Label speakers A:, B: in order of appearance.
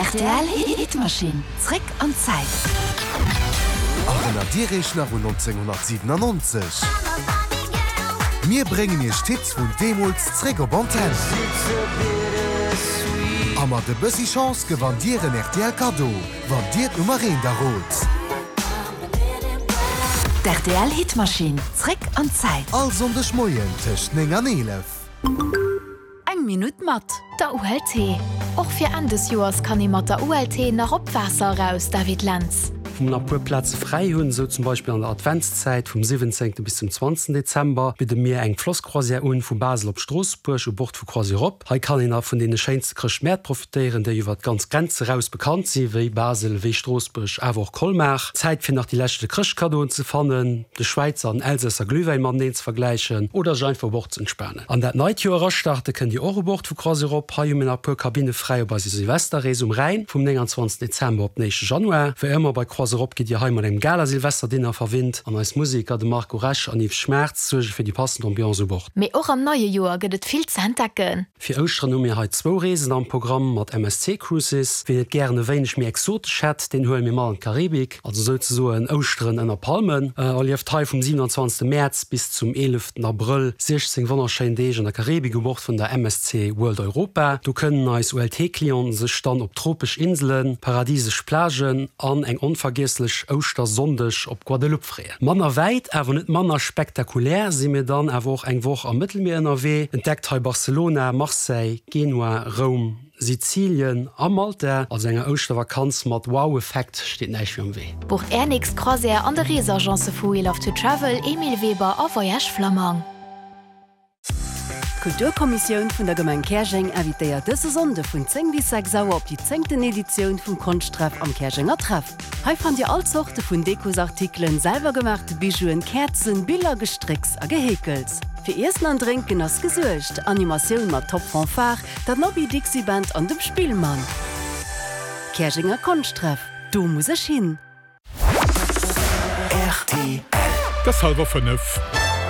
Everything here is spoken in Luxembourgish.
A: Rtl Hitmaschinn, zréck an d'Zäit.
B: Erënnert Dir Iech nach un 1997? Mir bréngen Iech d'Hits vun deemools zréck op Antenn. A mat e bëssi Chance gewannt Dir en rtl Kaddo, wann Dir d'Nummer eent errot.
A: D'RTL Hitmaschinn, zréck an d'Zäit.
B: All Sonndeg Moien tëscht 9 an 11.
A: Eng Minutt mat der ULT. Och fir Enn des Joers kann ee mat der ULT nach op d'Waasser eraus, David Lentz.
C: Wou mer nach e puer Plaze fräi hunn, esou zum Beispill an der Adventszäit vum 17. bis zum 20. Dezember, bidde mir eng Flosscroisière un vu Basel op Stroossbuerg u Bord vu CroisiEurope. Hei kann een a vun deene schéinste Chrëschtmäert profitéieren, déi iwwer d'ganz Grenz eraus bekannt sinn, wéi Basel, wéi Stroossbuerg, awer och Colmar. Zäit fir nach déi leschte Chrëschtkaddoen ze fannen, de Schwäizer an Elsässer Glühwäin mateneen ze vergläichen oder sech einfach u Bord ze entspanen. An dat neit Joer erastarte kënnt Dir och u Bord vu CroisiEurope. Hei hu mir nach e puer Kabinne fräi op eiser Silvesterrees um Rhäin vum 29 Dezember op den éischte Januar. Wéi ëmmer bei CroisiEurope gitt Dir hei mat engem Gala-Silvesterdinner verwinnt an eis Museker, de Marco Rech an Yves Schmaertz, suerge fir déi passend Ambiance u Bord.
A: Mee och am neie Joer gëtt et vill ze entdecken.
C: Fir Ouschteren hu mir hei zwou Reesen am Programm mat MSC Cruises. Wien et gären e wéineg méi exotesch hätt, deen huele mir mat an d'Karibik, also souzesoen Ouschteren ënner Palmen. Erlieft hei vum 27 Mäerz bis zum 11 Abrëll 16 wonnerschéin Deeg an der Karibik u Bord vun der MSC World Europa. Do kënnen eis ULT-Clienten sech dann op tropesch Inselen, paradisesch Plagen an eng onvergiesslech Ouschtersonndeg op Guadeloupe freeën. Manner wäit, awer net manner spektakulär si mir dann awer och eng Woch am Mëttelmier ënnerwee. Entdeckt hei Barcelona, Marseille, Genua, Roum, Sizilien a Malta. Also enger Ouschtervakanz mat Wow-Effekt steet näischt méi am Wee.
A: Bucht Är nächst Croisière an de Reesagence vu We Love to Travel, Emile Weber a Voyage Flammang.
D: D'Kulturkommissioun vun der Gemeng Käerjeng invitéiert dëse Sonnde vun 10 bis 6 Auer op déi zéngten Editioun vum Konschttreff am Käerjenger Treff. Hei fannt Dir all Zorte vun Dekosartikelen, selwergemaachte Bijouen, Käerzen, Biller, Gestrécks a Geheekels. Fir Iessen an Drénken ass gesuergt, Animatioun mat Top Fanfare, der Nobby Dixie Band an dem Spillmann. Käerjenger Konschtreff, do muss ech hin!
B: Rtl.
E: Et ass hallwer 5.